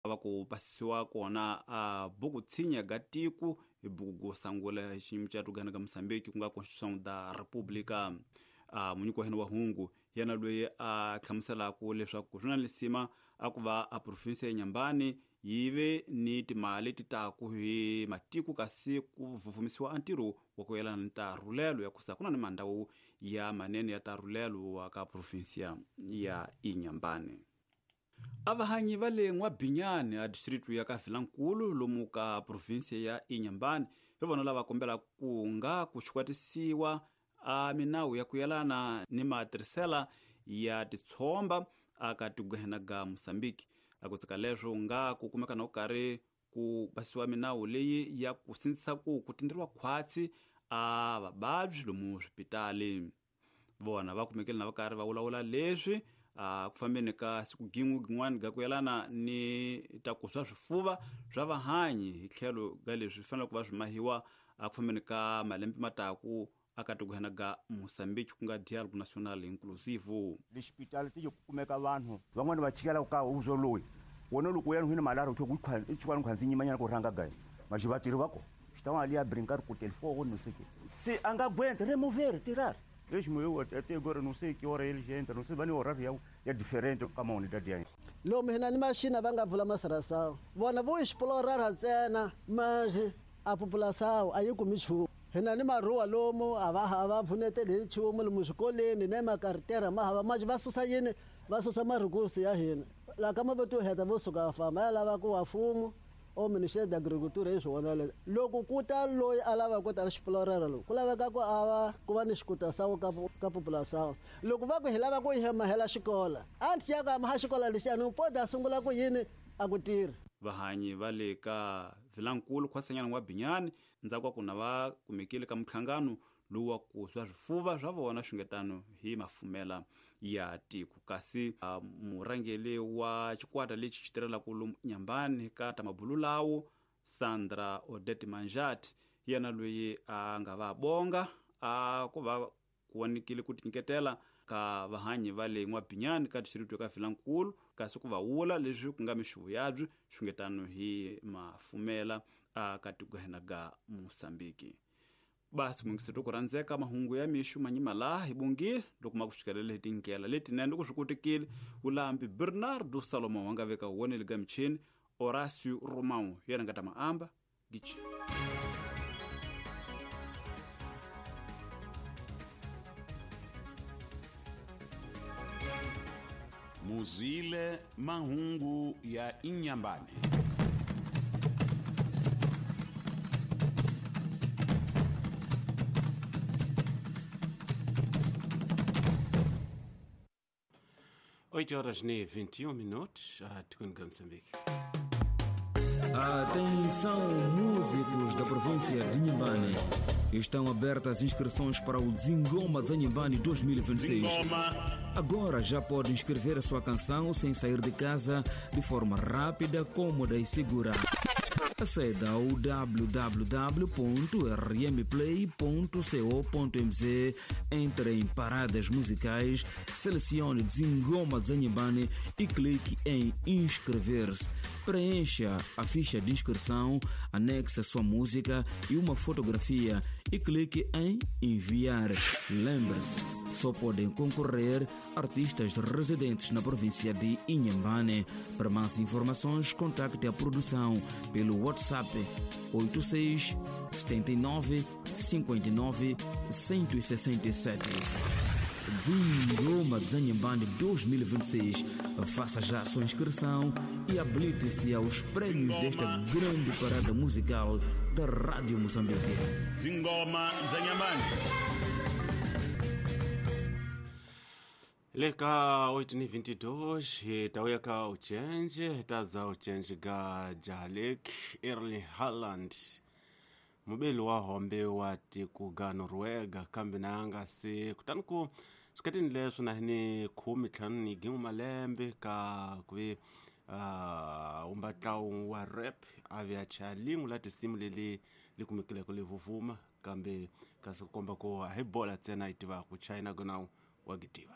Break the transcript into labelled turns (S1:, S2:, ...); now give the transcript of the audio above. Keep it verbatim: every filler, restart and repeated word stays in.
S1: Va ku pasisiwa kona a buku tshinya ga tiku hi buku go sangula hi xiyimo xa tugana ka Mozambique ku nga Constituição da República. A munyiki wa hina wa hungu yena loyi a hlamuselaka leswaku swi na lisima a ku va a province ya Inhambane yi ve ni timali ti taku hi matiko kasi ku vuvumisiwa a ntirho wa ku yelana ni tarhulelo ya kusa ku na ni mandhawu ya manene ya tarhulelo wa ka provinsia ya Inhambane. Avahanyi va le N'wabinyani a district ya ka Vilankulu lomu ka provinsia ya Inhambane hi vona lava kombela ku nga ku xikwatisiwa a minawu ya ku yelana ni matirhisela ya titshomba aka tigwehena ga Mozambique. A ku tsika leswo nga ku kumeka na ku karhi ku basiwa minawu leyi ya ku sindzisa ku ku tindriwa khwatsi a vavabyi lomu swipitali. Vona va kumekile na va karhi va vulavula leswi a ku fambeni ka siku gin'we gin'wana ga ku yelana ni ta ku swa swifuva swa vahanyi hi tlhelo ga leswi fanele ku va swi mahiwa a ku fambeni ka malembe mataku aka tiguhena ga Mozambique ku nga Dialogue National Inclusive.
S2: Le xipitali ti kumeka vanhu van'wana va chikela ka uzo loyi wona loko ya nhwini malaro ku i chukwana khwanzi nyimanyana ku rhanga ga ma xivatirhi va ko xitawona liya brincar ku telefone no sei que se a nga aguenta remover tirar Deixa-me eu até agora não sei que hora eles entram, não sei bani horário é diferente ka mona da dia.
S3: Lomu hina ni machina va nga vula masirasa. Vona vo explorar ntsena mas a população a yi kumi nchumu. Hina ni maruwa lomu a va a va pfuneteli hi nchumu lomu swikolweni na makartera ma hava mas va susa yini va susa marikusi ya hina. La ka mavito heta vo suka va famba ya lava ku wa mfumo o Ministério da Agricultura hi swona leswi. Loko ku ta loyi a lava ku ta explorer loku ku laveka ku a va ku va ni xikutasawu ka ka população. Loko va ku hi lava ku hi mahela xikola anti ya ka maha xikola lexi a ni pode a sungula ku yini a ku tirhi.
S1: Vahanyi va le ka Vilankulu khwasanyana N'wabinyani ndzhaku ka ku na va kumekile ka minhlangano lowu wa ku swa swifuva swa vona xungetano hi mafumela ya tiko. Kasi murhangeri wa xikwata lexi xi tirhelaka lomu Inhambane ka ta mabulu lawo Sandra Odette Manjati yena loyi a nga va bonga a ku va ku vonikile ku tinyiketela ka vahanyi va le N'wabinyani ka district ka Vilankulu kasi ku va wula leswi ku nga mixuvo yabyo xungetano hi mafumela a ka tiguhena ga Mozambique. Basi mungiseto ku rhandzeka mahungu ya mixu manyima laha hi bongile loko ma ku xikelele hi tindlela letinene loko swi kotekile ulambi Bernardo Salomão wa nga veka wonele ga michini Horácio Romão yena nga ta maamba gichi.
S4: Muzile mahungu ya Inhambane.
S5: oito horas e vinte e um minutos, a Tucunga, Moçambique.
S6: Atenção, músicos da província de Inhambane. Estão abertas as inscrições para o Zingoma Zanhambane dois mil e vinte e seis.
S4: Zingoma.
S6: Agora já pode inscrever a sua canção sem sair de casa, de forma rápida, cômoda e segura. Aceda ao w w w ponto r m play ponto co ponto m z, entre em paradas musicais, selecione Zingoma Zanhambane e clique em inscrever-se. Preencha a ficha de inscrição, anexe a sua música e uma fotografia e clique em enviar. Lembre-se, só podem concorrer artistas residentes na província de Inhambane. Para mais informações, contacte a produção pelo WhatsApp oito seis, setenta e nove, cinquenta e nove, cento e sessenta e sete. Zingoma Zanhambane dois mil e vinte e seis. Faça já a sua inscrição e habilite-se aos prêmios desta grande parada musical da Rádio Moçambique.
S4: Zingoma Zanhambane.
S5: Leka oito e vinte e dois, taweka uchenje, taza uchenje ga Jalek Erling Haaland. Mubeli wa hombe wa tiko ga Noruega kambe na se kutani ku swikatini leswo na ni khume ntlhanu ni gin'we malembe ka ku uh, umbatlawu wa rap a ve a chaya lin'we la tinsimu leli li kumekileko li vuvuma kambe kasi ku komba ku a hi bola ntsena yi tivaka China gona wa gitiva.